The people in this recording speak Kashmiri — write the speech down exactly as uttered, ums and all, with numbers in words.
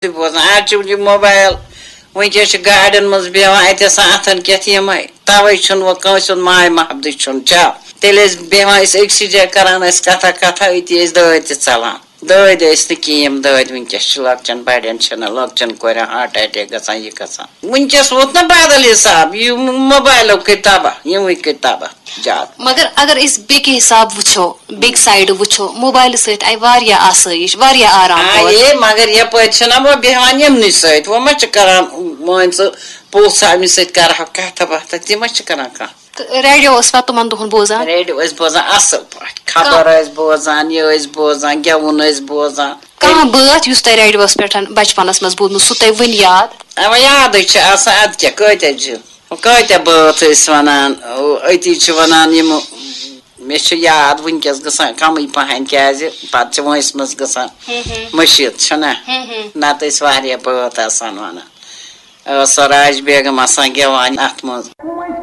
تہِ بوزان۔ آز چھُ یہِ موبایل، وٕنکیٚس چھِ گاڑٮ۪ن منٛز بیٚہوان، اَتہِ آسان اَتھن کٮ۪تھ یِمے۔ تَوَے چھُنہٕ وۄنۍ کٲنٛسہِ ہُنٛد ماے محبتٕے چھُنہٕ چا۔ تیٚلہِ ٲسۍ بیٚہوان أسۍ أکسٕے جایہِ، کران ٲسۍ کَتھا کَتھا، أتی ٲسۍ دٲدۍ تہِ ژَلان۔ دٲدۍ ٲسۍ نہٕ کِہیٖنۍ، دٲدۍ وٕنکیٚس چھِ لۄکچٮ۪ن بَڑٮ۪ن چھِنہٕ، لۄکچٮ۪ن کورٮ۪ن ہارٹ اٹیک گژھان، یہِ گژھان۔ وٕنکیٚس ووت نہ بدل حساب، یہِ موبایلو کٔرۍ تباہ، یِموٕے کٔرۍ تباہ زیادٕ۔ مگر اگر أسۍ بیٚکہِ حساب وٕچھو، بیٚکہِ سایڈٕ وٕچھو، موبایلہٕ سۭتۍ آیہِ واریاہ آسٲیِش، واریاہ آرام آ، پٲٹھۍ۔ اے، مگر یپٲرۍ چھِنہ وۄنۍ بیٚہوان یِمنٕے سۭتۍ، وۄنۍ ما چھِ کران، مان ژٕ، پوٚژھ أمِس سۭتۍ کرہو کتھا باتھا، تہِ ما چھِ کران کانٛہہ؟ تہٕ ریڈیو اوس پتہٕ تِمن دۄہن بوزان؟ ریڈیو ٲسۍ بوزان اصل پٲٹھۍ، خبر ٲسۍ بوزان، یہِ ٲسۍ بوزان، گٮ۪وُن ٲسۍ بوزان۔ کانٛہہ بٲتھ یُس تۄہہِ ریڈیوس پٮ۪ٹھ بچپنس منٛز بوٗزمُت، سُہ تۄہہِ وٕنہِ یاد؟ اَوا یادٕے چھِ آسان، اَدٕ کیٛاہ، کۭتیٛاہ چھِ، کۭتیٛاہ بٲتھ ٲسۍ وَنان، أتی چھِ وَنان یِم، مےٚ چھِ یاد وٕنکیٚس گژھان کَمٕے پَہَن، کیٛازِ پَتہٕ چھِ وٲنٛسہِ منٛز گژھان مٔشیٖد، چھُنہ؟ نَتہٕ ٲسۍ واریاہ بٲتھ آسان وَنان۔ ٲس سۄ راج بیگم آسان گٮ۪وان اَتھ منٛز۔